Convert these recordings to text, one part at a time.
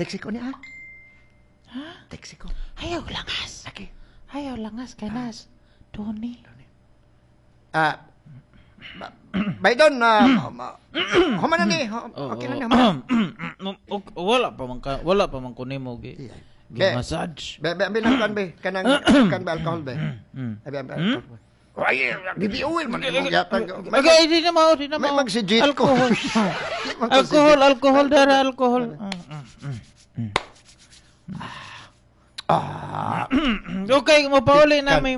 Text ko niya, ha? Text ko. Ayaw langas. Okay. Ayaw langas kay nas. Tony. Ah, bay don, human na ni. Okay na ni, human. Wala pa man ko nimo gi Iya. gi Be. massage. Be, be, be, nang kan be. Kanang, kan be alcohol be. Abi, abi, alcohol. Ay, baby oil man imong yatag. Okay, di na mao, di na May mao. magsigit ko. Alcohol. Di man ko Alcohol, sigit. Alcohol dara, alcohol. Ah, Okay, mo pauli na may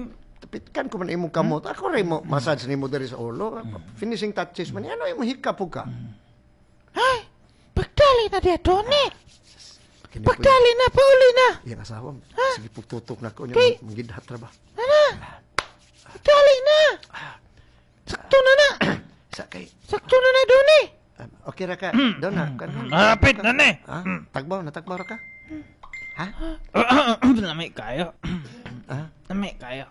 Pitkan ko man imong kamot. Ako rin mo massage nimo diri sa ulo. Finishing touches man. Ano imong hikap po ka? Ay, pagdali na diya, Tony. Kini po Pagdali na, pauli na. Iyang asawa. Sige, pugtutok na ko niya. Kay- Manggidhat ra ba? Ana, pagdali na. Sakto na na. Sa kay Sakto na na, Tony. Okay ra ka. Don na. Malapit na ni. Ha? Tagbaw, natagbaw ra ka? Ha? Lami kayo. Ha? Lami kayo.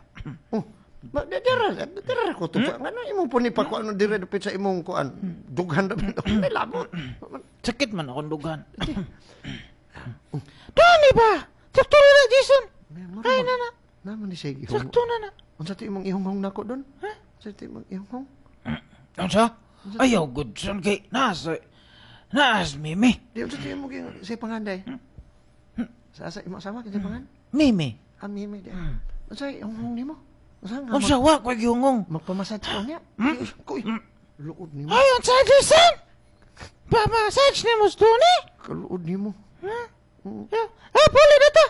Oh. Ma, dira, dira ko to. Ngano imong puni pa ko ano dire dapit sa imong kuan. Dughan dapit. May labot. Sakit man akong dugan. Tony ba? Sakto na na, Jason. Ay, na na. Naman ni siya ihong. Sakto na na. Unsa ti imong ihonghong nako don? Ha? Unsa ti imong ihonghong? Unsa? Ayaw good son kay naas mimi. Di unsa ti imong sa panganday? Sa asa imong asawa kinsa pangan? Mimi. Ah, mimi di. Unsa ihonghong nimo? Unsa nga? Unsa wa ko gihungong? Magpamassage ko niya. Kuy. Luod nimo. Ay, unsa, Jason? Pa-massage ni mo, Tony? Kaluod nimo. Ha? Ah, pauli na ta.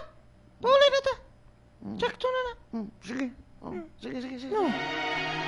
Pauli na ta. Sakto na na. Sige. Oh, sige, sige, sige. No.